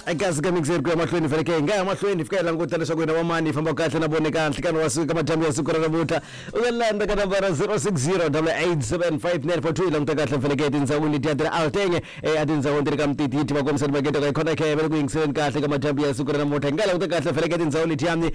Kasi ka mixer ku ya mahlweni faneke hi nga ya mahlweni hi fika hi languta leswaku hina vamani hi famba kahle na vona eka nhlikani wa siku ka madyambu ya siku ra namuntlha. U nga landza ka nambara 060 8875942 hi languta kahle faneke etindhawini letiya ti ri alteng etindhawini ti ri ka mutiti yi tiva kombisa makete ka hi khona ke va le ku yingiseleni kahle ka madyambu ya siku ra namuntlha. Hi nga languta kahle faneke etindhawini letiyani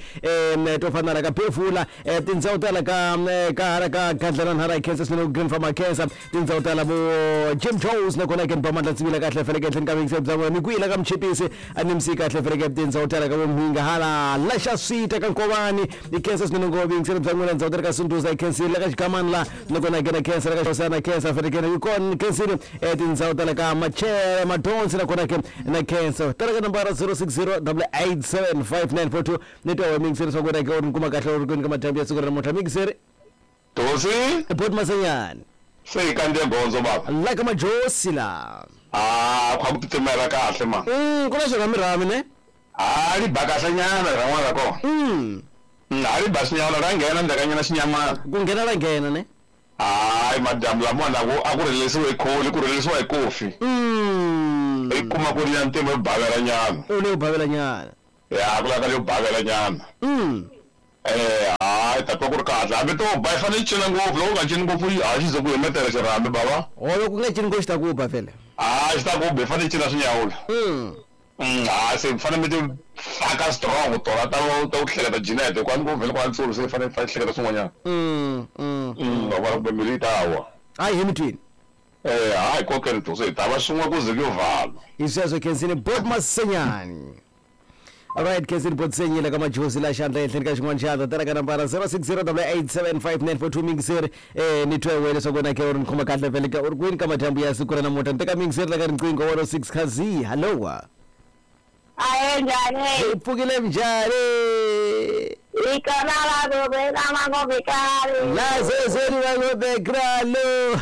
to fana na ka Befula, tindhawu ta la ka ka hala ka Gadlana hala hi khensa swinene Green Farm khensa tindhawu ta la vo Jim Jones nakona ke ni ba mandla tsivila kahle faneke etlheni ka vuyingiseri bya n'wina mi kwihi la ka Mchipisi a ni msi kahle faneke tindhawu ta la ka vo Mhinga hala la xa swita ka Nkovani hi khensa swinene ngo vuyingiseri bya n'wina ndhawu ta le ka Sunduza hi khensile la ka Xigamani la nakona ke na khensa la ka Xosana na khensa faneke yi kona khensile tindhawu ta la ka Machere Madonsi nakona ke na khensa ta la ka nambara 060 887 5942 ni twa wa mixeri swa ku wena ke u ri ni kuma kahle u ri kwini ka madyambu ya siku ra namuntlha mixeri. Dosi. Bot Masenyani. Se hi kandziye gondzo bava. La ka Majosi la. Ah, kha ku titimela kahle ma. Ku na swirhamirhami ne? Ha li ba kahle nyana rin'wana ra kona. Ha li ba xinyama ra nghena ndzhakanyana xinyamana. Ku nghena ra nghena ne? Hayi madyambu lamawani a ku a ku rhelelisiwe hi kholi ku rhelelisiwa hi kofi. I kuma ku ri ya ntima yo bavela nyana. U leyo bavela nyana. Ya ku lava yo bavela nyana. Hayi ta twa ku ri kahle hambi to ba yi fanele yi cina ngopfu loko u nga cini ngopfu ha xi ze ku himetela xirhami bava. Ho loko ku nga cini ngopfu xi ta ku ba vhele. Ha xi ta ku ba yi fanele yi cina swinyawula. Ha se mi fanele mi ti faka strong tona ta ta ku hleketa Jeanette hikuva ni ku vhele ku ntsulu se yi fanele yi hleketa swin'wanyana. Wa vona kumbe mbilu yi ta wa. Hayi he mi twini. Hayi kokeni to se hi ta va swin'we ku ze ku yo vala. Hi sweswo Khensini Bot Masenyani. Alright, Khensini Bot Senyile ka Majozi la xandla ehenhleni ka xin'wana xandla tela ka nambara 0608875942 mingiseri ni twe wena leswaku wena ke u ri ni khoma kahle vhele ka u ri kwini ka madyambu ya siku ra namuntlha ni teka mingiseri la ka riqingho 106 khazi hallo. Ahe njhani? Hi pfukile njhani? Ikona la gobe la mangobe kale. La zezeni mangobe kralo.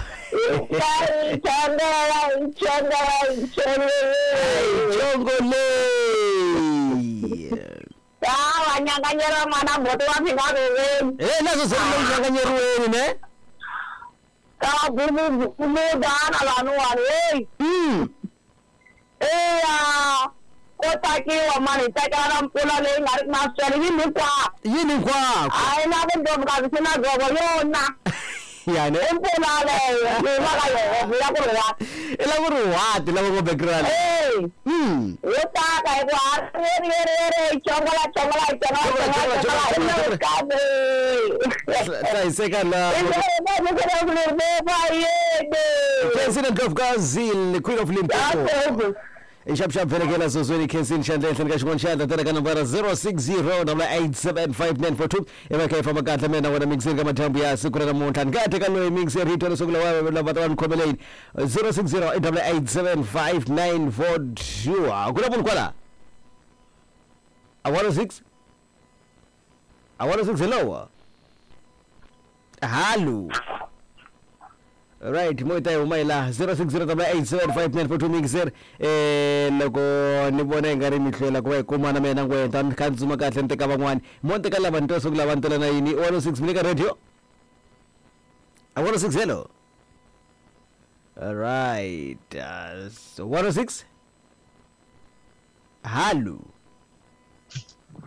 Ichongela ichongela ichongela. Chongole. Sawa nyanganyela mwana mboto wa phinga goveni. Nazo zeni nyanganyeriweni ne? Ka gumu gumu dana lanu wani hey. Eya ko takiwa mani takana mpfula leyi nga ri na swele yini hinkwako. Yini hinkwako. A yi na vumbhoni kasi swi na dzovo yona. Yani. I mpfula leyo yi humaka Yehovha ya ku ri what. I la ku ri what lava ngo background. Yo taka hi ku ha ri ri ri ri chongola chongola chongola chongola chongola. Hlayiseka la. Khensile Ndlovukazi, Queen of Limpopo. Ixapuxapu vhelekela zozweni Khensini xandla ehenhleni ka xin'wana xandla tela ka nambara 0608875942 i va kha yi famba kahle mina wena mixeri ka madyambu ya siku ra namuntlha ni nga teka loyi mixeri yi twa leswaku lava lava ta va ni khomele yini 0608875942 ku na munhu kwala a 106 a 106 hello hallo. Right, mo ta huma hi laha 0608875942 mixer loko ni vona i nga ri mi hlwela ku va hi kumana mina ngwenta ni kha ni tsuma kahle ni teka van'wani mo ni teka lava ni twa swa ku lava ni tela na yini 106 mi le ka radio a 106 hello. Alright, so 106 hallo.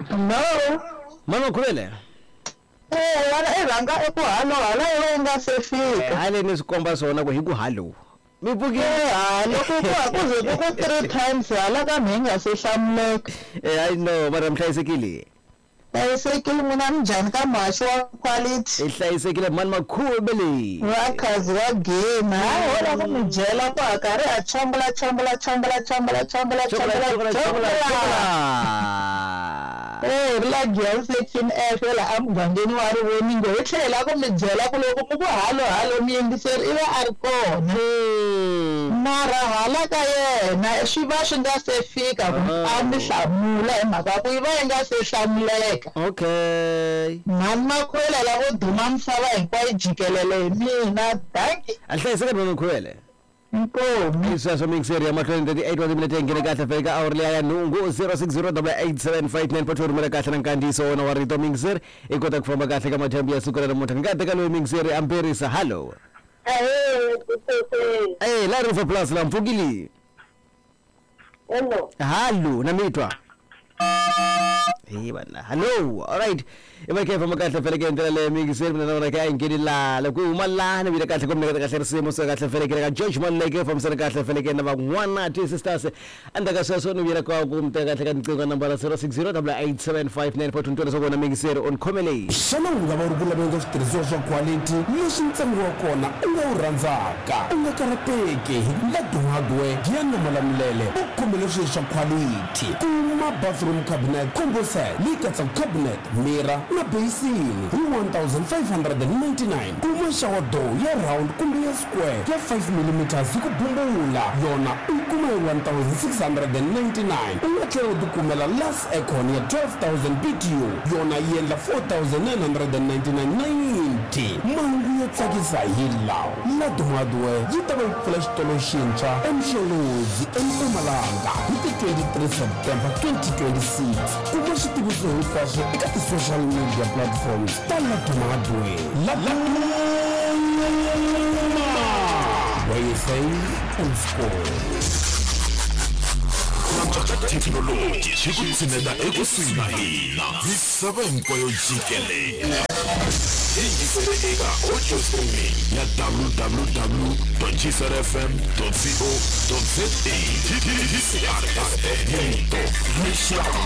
Hello. Mama Khuvele. Wena i rhanga eku halo hala iwe u nga se fika. Hale ni swi komba swona ku hi ku halo. Mi pfukile. Halo ku ku ku ze ku ku 3 times hala ka mhe nga se hlamuleka. I know mara mi hlayisekile. Hlayisekile n'wina minjhani ka muhaxi wa quality. Hi hlayisekile mani Makhuvele. Va khazi wa game. Hayi ho lava ku mi byela ku ha karhi ha chongola chongola chongola chongola chongola chongola chongola. Ri la Giyani section F la emugangeni wa Rivoningo hi tlhela ku mi byela ku loko mi ku halo halo muyingiseri i va a ri kona. Mara hala ka yena swi va swi nga se fika ku a mi hlamula hi mhaka ku yi va yi nga se hlamuleka. Okay. Mhani Makhuvele la vo duma misava hinkwayo jikelele hi mina. Dankie. A hlayiseka mhani Makhuvele. Inkomu. Sweswo mixeri ya mahlweni 38 wa timinete yi nghene kahle fika awuri liya ya nhungu 0608875942 rhumela kahle na nkandziyiso wona wa rito mixeri i kota ku famba kahle ka madyambu ya siku ra namuntlha ni nga teka loyi mixeri amperisa hallo. La River Plus la mpfukile. Hello. Hallo na mi twa hi vana hallo alright i va khe famba kahle feleke hi ndlela leyo miyingiseri mina na vona ka yi ngheni laha loko yi huma laha ni vile kahle ku mi kahle risimu so kahle feleke ka George Maluleke fambisana kahle feleke na van'wana ti sisters endzhaku ka sweswo ni vuyela ka ku mi teka kahle ka tinqingho ka nambara 060 8875942 ntwa leswaku wena miyingiseri u ni khome leyi. Xana u nga va u ri ku laveni ka switirhisiwa swa khwalithi leswi ntsengo wa kona u nga wu rhandzaka? U nga karhateki hi ku Laddu Hardware ya Namalamulele va ku khomele swilo swa khwalithi. Kuma bathroom cabinet combo set leyi katsaka cabinet, mirror na bayisini hi 1599. Kuma shower door ya round kumbe ya square ya 5 millimeters hi ku bumbula, yona u yi kuma hi 1699. U nga tlhela u tikumela Lux Aircon ya 12000 BTU, yona yi endla 4999.90. Mahungu yo tsakisa hi lawa, Laddu Hardware yi ta va yi pfula xitolo xintshwa eMsholozi eMpumalanga hi ti 23 September 2026. Kuma switiviso hinkwaswo eka ti-social media platforms ta Laddu Hardware. Laduma, where you save and score. Thekinoloji swi ku tshineta ekusuhi na hina misava hinkwayo jikelele. Yingisele eka audio streaming ya www.gcrfm.co.za. GCR FM, rito rixaka.